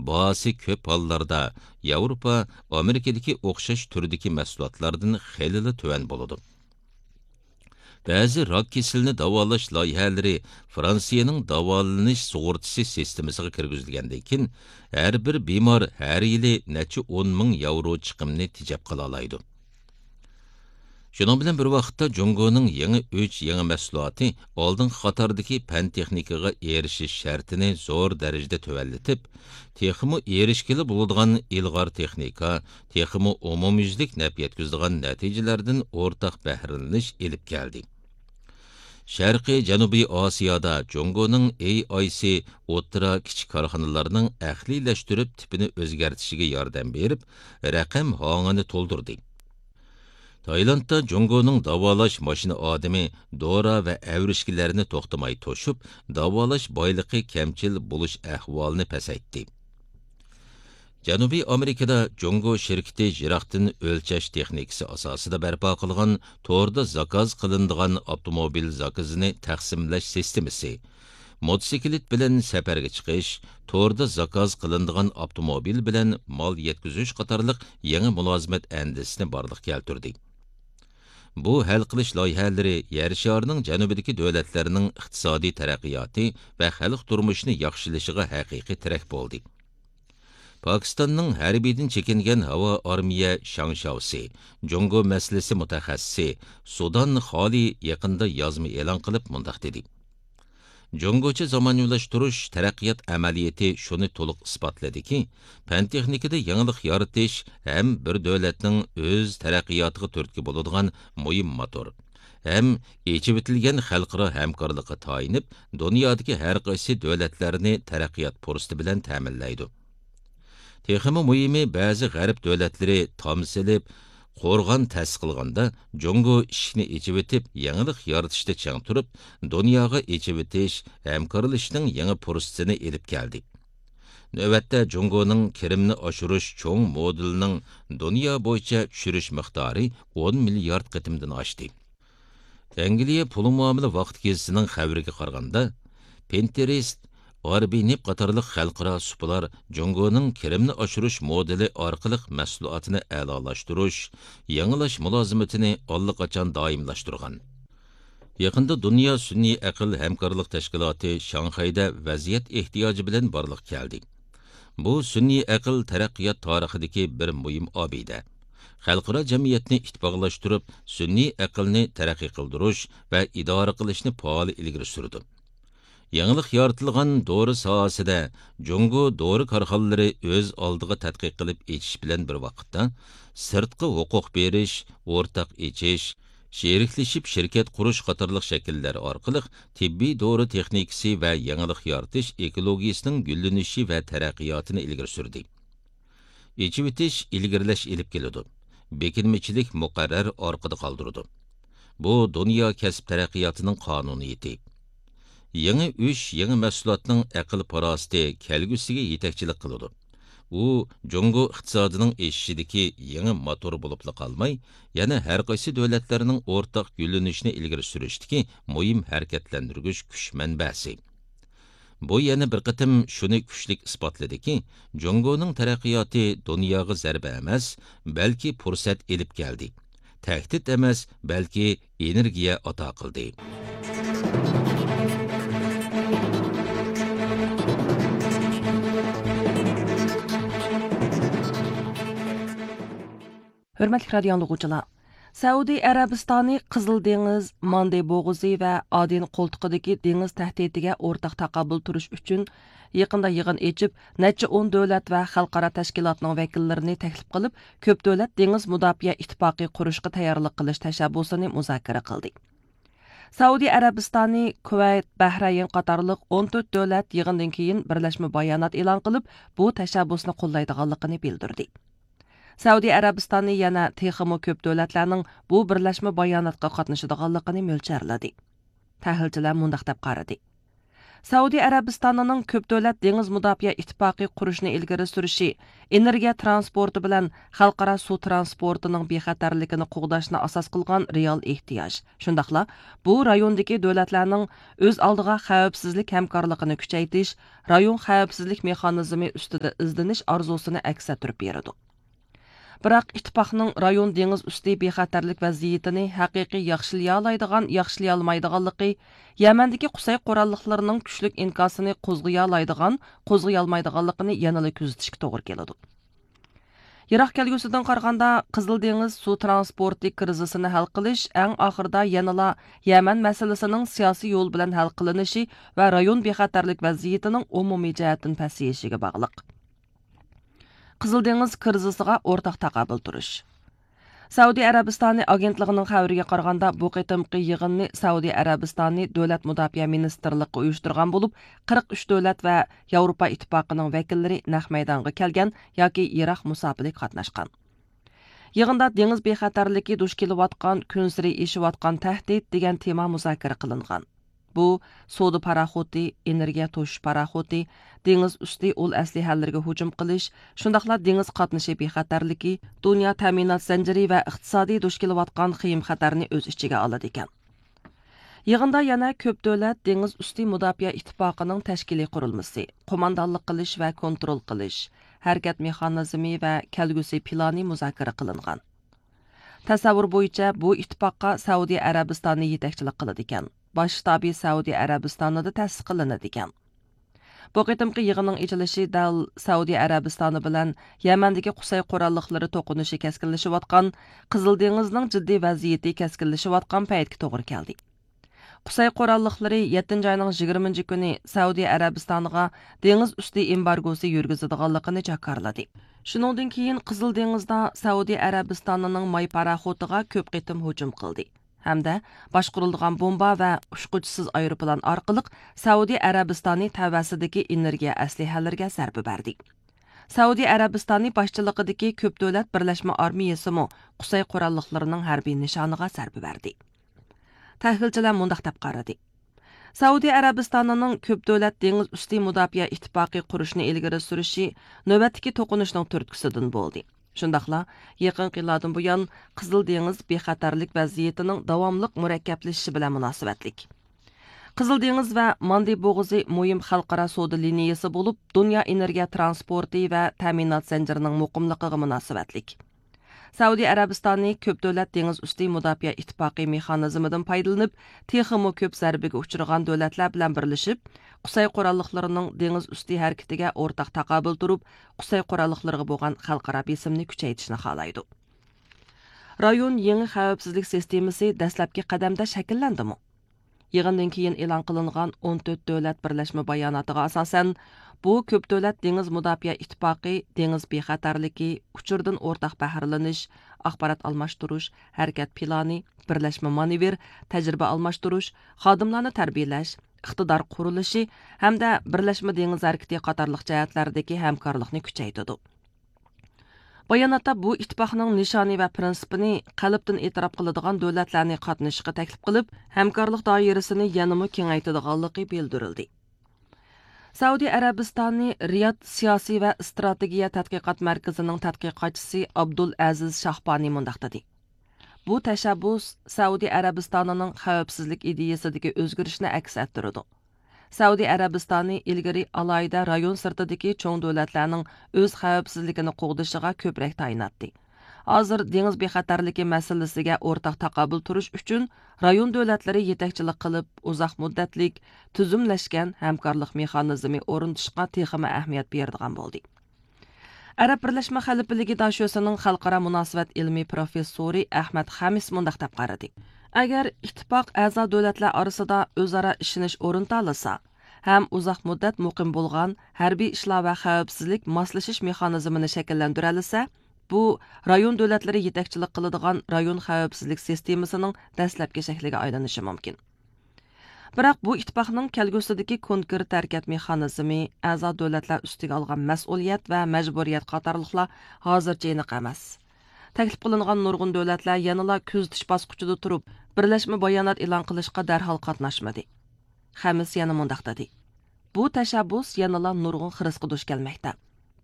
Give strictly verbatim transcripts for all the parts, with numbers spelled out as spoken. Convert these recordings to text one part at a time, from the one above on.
باھاسى كۆپ ھاللاردا ياۋروپا، ئامېرىكىدىكى ئوخشاش تۈردىكى مەھسۇلاتلاردىن خېلىلا تۆۋەن بولىدۇ. بەزى راك كېسىلىنى داۋالاش لايىھەلىرى فرانسىيەنىڭ داۋالىنىش سۇغۇرتىسى سىستېمىسىغا كىرگۈزۈلگەندىن كېيىن، ھەر بىر بىمار ھەر يىلى نەچچە ئون مىڭ ياۋرو چىقىمنى تېجەپ قالالايدۇ. شۇنىڭ بىلەن بىر ۋاقىتتا، جۇڭگونىڭ يېڭى ئۈچ يېڭى مەھسۇلاتى ئالدىنقى قاتاردىكى پەن تېخنىكىغا ئېرىشىش شەرتىنى زور دەرىجىدە تۆۋەنلىتىپ، تېخىمۇ ئېرىشكىلى بولىدىغان ئىلغار تېخنىكا، تېخىمۇ ئومۇميۈزلۈك نەپ يەتكۈزىدىغان نەتىجىلەردىن ئورتاق بەھرىلىنىش ئېلىپ كەلدى. شەرقىي جەنۇبىي ئاسىيادا جۇڭگونىڭ ئېي ئاي سى ئوتتۇرا، كىچىك كارخانىلارنىڭ ئەقلىيلەشتۈرۈپ تىپىنى ئۆزگەرتىشىگە ياردەم بېرىپ، رەقەم ھاڭىنى تولدۇردى. تايلاندتا جۇڭگونىڭ داۋالاش ماشىنا ئادىمى دورا ۋە ئەۋرىشكىلەرنى توختىماي توشۇپ، داۋالاش بايلىقى كەمچىل بولۇش ئەھۋالىنى پەسەيتتى. جەنۇبىي ئامېرىكىدا جۇڭگو شىركىتى يىراقتىن ئۆلچەش تېخنىكىسى ئاساسىدا بەرپا قىلغان توردا زاكاز قىلىنىدىغان ئاپتوموبىل زاكىزىنى تەقسىملەش سىستېمىسى، موتوسىكلىت بىلەن سەپەرگە چىقىش، توردا زاكاز قىلىنىدىغان ئاپتوموبىل بىلەن مال يەتكۈزۈش قاتارلىق يېڭى مۇلازىمەت ئەندىزىسىنى بارلىققا كەلتۈردى. بۇ ھەل قىلىش لايىھەلىرى يەر شارىنىڭ جەنۇبىدىكى دۆلەتلەرنىڭ ئىقتىسادىي تەرەققىياتى ۋە خەلق تۇرمۇشىنى ياخشىلىشىغا ھەقىقىي تىرەك بولدى. پاكىستاننىڭ ھەربىيدىن چېكىنگەن ھاۋا ئارمىيە شاڭشاۋسى، جۇڭگو مەسىلىسى مۇتەخەسسىسى سۇدان خالى يېقىندا يازما ئېلان قىلىپ مۇنداق دېدى: جۇڭگوچە زامانىۋىلاشتۇرۇش تەرەققىيات ئەمەلىيىتى شۇنى تولۇق ئىسپاتلىدىكى، پەن تېخنىكىدا يېڭىلىق يارىتىش ھەم بىر دۆلەتنىڭ ئۆز تەرەققىياتىغا تۈرتكە بولىدىغان مۇھىم موتور ھەم ئېچىۋېتىلگەن خەلقئارا ھەمكارلىققا تايىنىپ، دۇنيادىكى ھەر قايسى دۆلەتلەرنى تەرەققىيات پۇرسىتى بىلەن تەمىنلەيدۇ. تېخىمۇ مۇھىمى، بەزى غەرب دۆلەتلىرى تام سېلىپ، قورغان تەسىس قىلغاندا، جۇڭگو ئىشىكنى ئېچىۋېتىپ، يېڭىلىق يارىتىشتا چىڭ تۇرۇپ، دۇنياغا ئېچىۋېتىش، ھەمكارلىشىشنىڭ يېڭى پۇرسىتىنى ئېلىپ كەلدى. نۆۋەتتە، جۇڭگونىڭ كىرىمنى ئاشۇرۇش چوڭ مودېلىنىڭ دۇنيا بويىچە چۈشۈرۈش مىقدارى ئون مىليارد قېتىمدىن ئاشتى. ئەنگلىيە پۇل مۇئامىلە ۋاقتى گېزىتىنىڭ خەۋىرىگە قارىغاندا، پىنتېرېست، ئاربىنېپ قاتارلىق خەلقئارا سۇپىلار جۇڭگونىڭ كىرىمنى ئاشۇرۇش مودېلى ئارقىلىق مەھسۇلاتىنى ئەلالاشتۇرۇش، يېڭىلاش مۇلازىمىتىنى ئاللىقاچان دائىملاشتۇرغان. يېقىندا دۇنيا سۈنئىي ئەقىل ھەمكارلىق تەشكىلاتى شاڭخەيدە ۋەزىيەت ئېھتىياجى بىلەن بارلىققا كەلدى. بۇ سۈنئىي ئەقىل تەرەققىيات تارىخىدىكى بىر مۇھىم ئابىدە. خەلقئارا جەمئىيەتنى ئىتتىپاقلاشتۇرۇپ، سۈنئىي ئەقىلنى تەرەققىي قىلدۇرۇش ۋە ئىدارە قىلىشنى پائال ئىلگىرى سۈرىدۇ. يېڭىلىق يارىتىلغان دورا ساھەسىدە جۇڭگو دورا كارخانىلىرى ئۆز ئالدىغا تەتقىق قىلىپ ئېچىش بىلەن بىر ۋاقىتتا، سىرتقا ھوقۇق بېرىش، ئورتاق ئېچىش، شېرىكلىشىپ شىركەت قۇرۇش قاتارلىق شەكىللەر ئارقىلىق تېببىي دورا تېخنىكىسى ۋە يېڭىلىق يارىتىش ئېكولوگىيىسىنىڭ گۈللىنىشى ۋە تەرەققىياتىنى ئىلگىرى سۈردى. ئېچىۋېتىش ئىلگىرىلەش ئېلىپ كېلىدۇ. بېكىنمىچىلىك مۇقەررەر ئارقىدا قالدۇرىدۇ. بۇ دۇنيا كەسىپ تەرەققىياتىنىڭ قانۇنىيىتى. يېڭى ئۈچ يېڭى مەھسۇلاتنىڭ ئەقىل-پاراسىتى كەلگۈسىگە يېتەكچىلىك قىلىدۇ. ئۇ جۇڭگو ئىقتىسادىنىڭ ئېشىشىدىكى يېڭى موتور بولۇپلا قالماي، يەنە ھەر قايسى دۆلەتلەرنىڭ ئورتاق گۈللىنىشىنى ئىلگىرى سۈرۈشتىكى مۇھىم ھەرىكەتلەندۈرگۈچ كۈچ مەنبەسى. بۇ يەنە بىر قېتىم شۇنى كۈچلۈك ئىسپاتلىدىكى، جۇڭگونىڭ تەرەققىياتى دۇنياغا زەربە ئەمەس، بەلكى پۇرسەت ئېلىپ كەلدى. تەھدىت ئەمەس، بەلكى ئېنېرگىيە ئاتا قىلدى. ھۆرمەتلىك رادىيو ئاڭلىغۇچىلار! سەئۇدى ئەرەبىستانى قىزىل دېڭىز، ماندې بوغۇزى ۋە ئادېن قولتۇقىدىكى دېڭىز تەھدىتىگە ئورتاق تاقابىل تۇرۇش ئۈچۈن يېقىندا يىغىن ئېچىپ، نەچچە ئون دۆلەت ۋە خەلقئارا تەشكىلاتنىڭ ۋەكىللىرىنى تەكلىپ قىلىپ، كۆپ دۆلەت دېڭىز مۇداپىئە ئىتتىپاقى قۇرۇشقا تەييارلىق قىلىش تەشەببۇسىنى مۇزاكىرە قىلدى. سەئۇدى ئەرەبىستانى، كۇۋەيت، بەھرەين قاتارلىق ئون تۆت دۆلەت يىغىندىن كېيىن بىرلەشمە بايانات ئېلان قىلىپ، بۇ تەشەببۇسنى قوللايدىغانلىقىنى بىلدۈردى. سەئۇدى ئەرەبىستانى يەنە تېخىمۇ كۆپ دۆلەتلەرنىڭ بۇ بىرلەشمە باياناتقا قاتنىشىدىغانلىقىنى مۆلچەرلىدى. تەھلىلچىلەر مۇنداق دەپ قارىدى: سەئۇدى ئەرەبىستانىنىڭ كۆپ دۆلەت دېڭىز مۇداپىئە ئىتتىپاقى قۇرۇشنى ئىلگىرى سۈرۈشى ئېنېرگىيە ترانسپورتى بىلەن خەلقئارا سۇ ترانسپورتىنىڭ بىخەتەرلىكىنى قوغداشنى ئاساس قىلغان رېئال ئېھتىياج، شۇنداقلا بۇ رايوندىكى دۆلەتلەرنىڭ ئۆز ئالدىغا خەۋپسىزلىك ھەمكارلىقىنى كۈچەيتىش، رايون خەۋپسىزلىك مېخانىزمى ئۈستىدە ئىزدىنىش ئارزۇسىنى ئەكس ئەتتۈرۈپ بېرىدۇ. بىراق، ئىتتىپاقنىڭ رايون دېڭىز ئۈستى بىخەتەرلىك ۋەزىيىتىنى ھەقىقىي ياخشىلايالايدىغان، ياخشىلىيالمايدىغانلىقى، يەمەندىكى قۇسەي قوراللىقلىرىنىڭ كۈچلۈك ئىنكاسىنى قوزغىيالايدىغان، قوزغىيالمايدىغانلىقىنى يەنىلا كۆزىتىشكە توغرا كېلىدۇ. يىراق كەلگۈسىدىن قارىغاندا، قىزىل دېڭىز سۇ ترانسپورتى كىرىزىسىنى ھەل قىلىش ئەڭ ئاخىرىدا يەنىلا يەمەن مەسىلىسىنىڭ سىياسىي يول بىلەن ھەل قىلىنىشى ۋە رايون بىخەتەرلىك ۋەزىيىتىنىڭ ئومۇمىي جەھەتتىن پەسىيىشىگە باغلىق. قىزىل دېڭىز كىرىزىسىغا ئورتاق تاقابىل تۇرۇش. سەئۇدى ئەرەبىستانى ئاگېنتلىقىنىڭ خەۋىرىگە قارىغاندا، بۇ قېتىمقى يىغىننى سەئۇدى ئەرەبىستانى دۆلەت مۇداپىئە مىنىستىرلىقى ئۇيۇشتۇرغان بولۇپ، قىرىق ئۈچ دۆلەت ۋە ياۋروپا ئىتتىپاقىنىڭ ۋەكىللىرى نەق مەيدانغا كەلگەن ياكى يىراق مۇساپىلىكە قاتناشقان. يىغىندا دېڭىز بىخەتەرلىكى دۇچ كېلىۋاتقان، كۈنسېرى ئېشىۋاتقان تەھدىت دېگەن تېما مۇزاكىرە قىلىنغان. بۇ سودا پاراخوتى، ئېنېرگىيە توشۇش پاراخوتى، دېڭىز ئۈستى ئۇل ئەسلىھەلىرىگە ھۇجۇم قىلىش، شۇنداقلا دېڭىز قاتنىشى بىخەتەرلىكى، دۇنيا تەمىنات زەنجىرى ۋە ئىقتىسادىي دۇچ كېلىۋاتقان خېيىم خەتەرنى ئۆز ئىچىگە ئالىدىكەن. يىغىندا يەنە كۆپ دۆلەت دېڭىز ئۈستى مۇداپىئە ئىتتىپاقىنىڭ تەشكىلىي قۇرۇلمىسى، قوماندانلىق قىلىش ۋە كونترول قىلىش، ھەرىكەت مېخانىزمى ۋە كەلگۈسى پىلانى مۇزاكىرە قىلىنغان. تەسەۋۋۇر بويىچە، بۇ ئىتتىپاققا سەئۇدى ئەرەبىستانى يېتەكچىلىك قىلىدىكەن، باش شتابى سەئۇدى ئەرەبىستانىدا تەسىس قىلىنىدىكەن. بۇ قېتىمقى يىغىننىڭ ئېچىلىشى دەل سەئۇدى ئەرەبىستانى بىلەن يەمەندىكى قۇسەي قوراللىقلىرى توقۇنۇشى كەسكىنلىشىۋاتقان، قىزىل دېڭىزنىڭ جىددىي ۋەزىيىتى كەسكىنلىشىۋاتقان پەيتكە توغرا كەلدى. قۇسەي قوراللىقلىرى يەتتىنچى ئاينىڭ يىگىرمىنچى كۈنى سەئۇدى ئەرەبىستانىغا دېڭىز ئۈستى ئېمبارگوسى يۈرگۈزىدىغانلىقىنى جاكارلىدى. شۇنىڭدىن كېيىن قىزىل دېڭىزدا سەئۇدى ئەرەبىستانىنىڭ ماي پاراخوتىغا كۆپ قېتىم ھۇجۇم قىلدى ھەمدە باشقۇرۇلىدىغان بومبا ۋە ئۇچقۇچىسىز ئايروپىلان ئارقىلىق سەئۇدى ئەرەبىستانى تەۋەسىدىكى ئېنېرگىيە ئەسلىھەلىرىگە زەربە بەردى. سەئۇدى ئەرەبىستانى باشچىلىقىدىكى كۆپ دۆلەت بىرلەشمە ئارمىيىسىمۇ قۇسەي قوراللىقلىرىنىڭ ھەربىي نىشانىغا زەربە بەردى. تەھلىلچىلەر مۇنداق دەپ قارىدى: سەئۇدى ئەرەبىستانىنىڭ كۆپ دۆلەت دېڭىز ئۈستى مۇداپىئە ئىتتىپاقى قۇرۇشنى ئىلگىرى سۈرۈشى نۆۋەتتىكى توقۇنۇشنىڭ تۈرتكىسىدىن بولدى. شۇنداقلا يېقىنقى يىللاردىن بۇيان قىزىل دېڭىز بىخەتەرلىك ۋەزىيىتىنىڭ داۋاملىق مۇرەككەپلىشىشى بىلەن مۇناسىۋەتلىك. قىزىل دېڭىز ۋە ماندى بوغۇزى مۇھىم خەلقئارا سودا لىنىيىسى بولۇپ، دۇنيا ئېنېرگىيە ترانسپورتى ۋە تەمىنات زەنجىرىنىڭ مۇقىملىقىغا مۇناسىۋەتلىك. سەئۇدى ئەرەبىستانى كۆپ دۆلەت دېڭىز ئۈستى مۇداپىئە ئىتتىپاقى مېخانىزمىدىن پايدىلىنىپ، تېخىمۇ كۆپ زەربىگە ئۇچرىغان دۆلەتلەر بىلەن بىرلىشىپ، قۇسەي قوراللىقلىرىنىڭ دېڭىز ئۈستى ھەرىكىتىگە ئورتاق تاقابىل تۇرۇپ، قۇسەي قوراللىقلىرىغا بولغان خەلقئارا بېسىمنى كۈچەيتىشنى خالايدۇ. رايون يېڭى خەۋپسىزلىك سىستېمىسى دەسلەپكى قەدەمدە شەكىللەندىمۇ؟ يىغىندىن كېيىن ئېلان قىلىنغان ئون تۆت دۆلەت بىرلەشمە باياناتىغا ئاساسەن، بۇ كۆپ دۆلەت دېڭىز مۇداپىئە ئىتتىپاقى دېڭىز بىخەتەرلىكى، ئۇچۇردىن ئورتاق بەھرىلىنىش، ئاخبارات ئالماشتۇرۇش، ھەرىكەت پىلانى، بىرلەشمە مانېۋىر، تەجرىبە ئالماشتۇرۇش، خادىملارنى تەربىيەلەش، ئىقتىدار قۇرۇلۇشى ھەمدە بىرلەشمە دېڭىز ھەرىكىتى قاتارلىق جەھەتلەردىكى ھەمكارلىقنى كۈچەيتىدۇ. باياناتتا بۇ ئىتتىپاقنىڭ نىشانى ۋە پىرىنسىپىنى قەلبتىن ئېتىراپ قىلىدىغان دۆلەتلەرنى قاتنىشىشقا تەكلىپ قىلىپ، ھەمكارلىق دائىرىسىنى يەنىمۇ كېڭەيتىدىغانلىقى بىلدۈرۈلدى. سەئۇدى ئەرەبىستانى رىياد سىياسىي ۋە ئىستراتېگىيە تەتقىقات مەركىزىنىڭ تەتقىقاتچىسى ئابدۇل ئەزىز شاھبانى مۇنداق دېدى: بۇ تەشەببۇس سەئۇدى ئەرەبىستانىنىڭ خەۋپسىزلىك ئىدىيىسىدىكى ئۆزگىرىشنى ئەكس ئەتتۈرىدۇ. سەئۇدى ئەرەبىستانى ئىلگىرى ئالاھىدە رايون سىرتىدىكى چوڭ دۆلەتلەرنىڭ ئۆز خەۋپسىزلىكىنى قوغدىشىغا كۆپرەك تايىناتتى. ھازىر دېڭىز بىخەتەرلىكى مەسىلىسىگە ئورتاق تاقابىل تۇرۇش ئۈچۈن رايون دۆلەتلىرى يېتەكچىلىك قىلىپ، ئۇزاق مۇددەتلىك، تۈزۈملەشكەن ھەمكارلىق مېخانىزمى ئورنىتىشقا تېخىمۇ ئەھمىيەت بېرىدىغان بولدى. ئەرەب بىرلەشمە خەلىپىلىكى داشۆسىنىڭ خەلقئارا مۇناسىۋەت ئىلمىي پروفېسسورى ئەخمەت خەمىس مۇنداق دەپ قارىدى: ئەگەر ئىتتىپاق ئەزا دۆلەتلەر ئارىسىدا ئۆزئارا ئىشىنىش ئورنىتالىسا ھەم ئۇزاق مۇددەت مۇقىم بولغان ھەربىي ئىشلار ۋە خەۋپسىزلىك ماسلىشىش مېخانىزمىنى شەكىللەندۈرەلىسە، بۇ رايون دۆلەتلىرى يېتەكچىلىك قىلىدىغان رايون خەۋپسىزلىك سىستېمىسىنىڭ دەسلەپكى شەكلىگە ئايلىنىشى مۇمكىن. بىراق بۇ ئىتتىپاقنىڭ كەلگۈسىدىكى كونكرېت ھەرىكەت مېخانىزمى، ئەزا دۆلەتلەر ئۈستىگە ئالغان مەسئۇلىيەت ۋە مەجبۇرىيەت قاتارلىقلار ھازىرچە ئېنىق ئەمەس. تەكلىپ قىلىنغان نۇرغۇن دۆلەتلەر يەنىلا كۆزىتىش باسقۇچىدا تۇرۇپ، بىرلەشمە بايانات ئېلان قىلىشقا دەرھال قاتناشمىدى. خەمىس يەنە مۇنداق دېدى: بۇ تەشەببۇس يەنىلا نۇرغۇن خىرىسقا دۇچ كەلمەكتە.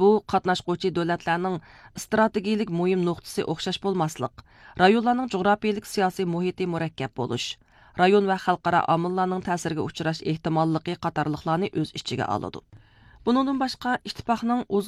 بۇ قاتناشقۇچى دۆلەتلەرنىڭ ئىستراتېگىيىلىك مۇھىم نۇقتىسى ئوخشاش بولماسلىق، رايونلارنىڭ جۇغراپىيىلىك سىياسىي مۇھىتى مۇرەككەپ بولۇش، رايون ۋە خەلقئارا ئامىللارنىڭ تەسىرىگە ئۇچراش ئېھتىماللىقى قاتارلىقلارنى ئۆز ئىچىگە ئالىدۇ. بۇنىڭدىن باشقا، ئىتتىپاقنىڭ ئۇزۇن